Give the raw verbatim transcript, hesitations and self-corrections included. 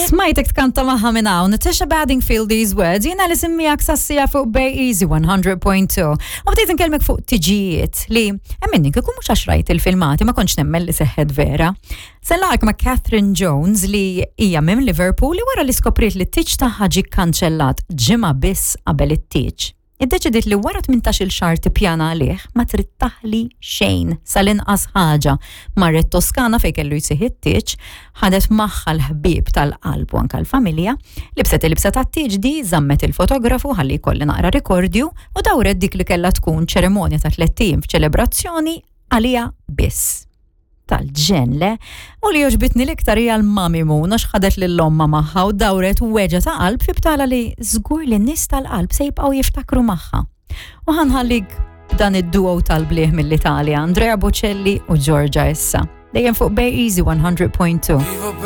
Smajtek tkanta magħha minn hawn, Natasha Bedingfield These Words, jiena li semmijak sassija fuq Bay Easy one hundred point two. U bdejt nkellmek fuq tiġijiet li emminni kieku mhux għax rajt il-filmati ma kontx nemmen li seħħet vera. Sellak ma' Catherine Jones li hija minn Liverpool li wara li skopriet li t-tieġ tagħha ġie kanċellat ġimgħa biss qabel it-tieġ, iddeċidiet li wara tmintax-il xahar tippjana għalih ma trid taħli xejn sal-inqas ħaġa. Marret Toskana fejn kellu jsir it-tieġ, ħadet magħha l-ħbieb tal-qalb u anka l-familja, libset il-libsa tat-tieġ di, żammet il-fotografu ħalli jkolli naqra rikordju u dawret dik li kellha tkun ċerimonja ta' tlett ijiem f'ċelebrazzjoni għalija biss. Tal-ġen le, u li għoġbitni l-iktar hija l-mami Moon għax ħadet lil-omma magħha u dawret weġgħa ta' qalb fi btala li żgur li n-nies tal-qalb se jibqgħu jiftakru magħha. U ħa nħallik dan id-duo tal-bliħ mill-Italja, Andrea Bocelli u Giorgia issa. Dejjem fuq Bay Easy one hundred point two. Vivo.